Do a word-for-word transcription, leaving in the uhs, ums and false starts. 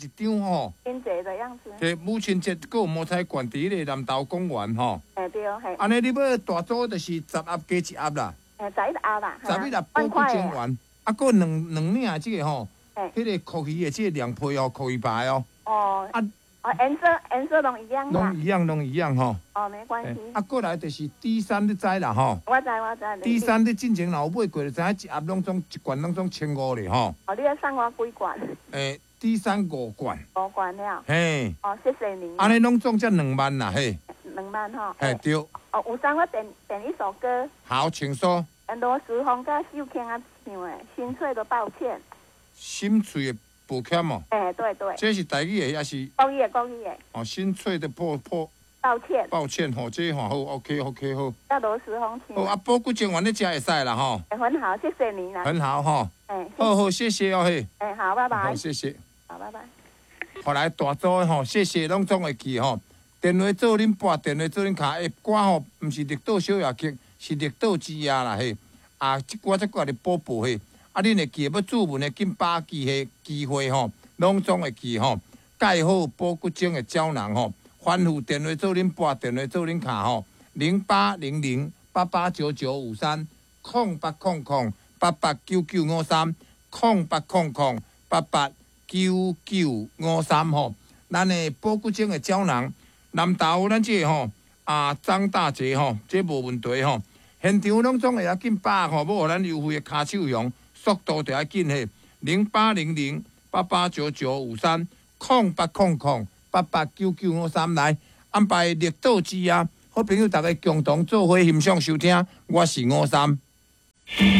一張吼。親節的樣子。對，母親節閣有摸彩券佇彼个南投公園吼。嘿對，嘿。按呢，你欲大組就是十盒加一盒啦。嘿，十一盒啦。十一盒保骨精丸，啊，閣兩兩領這个吼，彼个鱈魚的這个涼皮哦，鱈魚排哦。哦。啊。哦，顏色顏色攏一樣。攏一樣，攏一樣吼。哦，沒關係。啊，過來就是 D 三，你知啦吼。我知我知。 D 三你進前若有買過，就知影一盒攏總一罐攏總千五咧吼。哦，你欲送我幾罐？欸，D 三五罐。五罐了。嘿。哦，謝謝你。按呢攏總才兩萬啦，嘿。兩萬吼。嘿，對。哦，有送我點點一首歌。好，請說。羅時豐佮秀卿仔唱的《心碎的抱歉》。心碎的抱歉哦。欸，對對。這是台語的抑是？國語的，國語的。哦，心碎的破破。抱歉。抱歉吼，這吼好，OK OK 好。佮羅時豐唱。好啊，保骨精丸你食會使啦吼。很好，謝謝你啦。很好吼。欸。好好，謝謝哦嘿。欸，好，拜拜。好，謝謝。好，拜拜。後來大組的吼，謝謝攏總會記吼。電話做恁撥，電話做恁敲，欸，歌吼，毋是綠島小夜曲，是綠島之夜啦嘿。啊，這歌才閣來補報嘿。啊，恁會記欲注文的緊把機會機會吼，攏總會記吼。蓋好保骨精的膠囊吼，吩咐電話做恁撥，電話做恁敲吼，零八零零八八九九五三，空八空空八八九九五三，空八空空八八九九五三吼。咱的保骨精的膠囊，南投咱這个吼啊張大姐吼，這無問題吼。現場攏總會曉緊把吼，欲予咱優惠的跤手熊，速度就愛緊嘿，零八零零八八九九五三，空八空空八八九九五三來安排綠島之夜，好朋友逐家共同做伙欣賞收聽，我是吳三。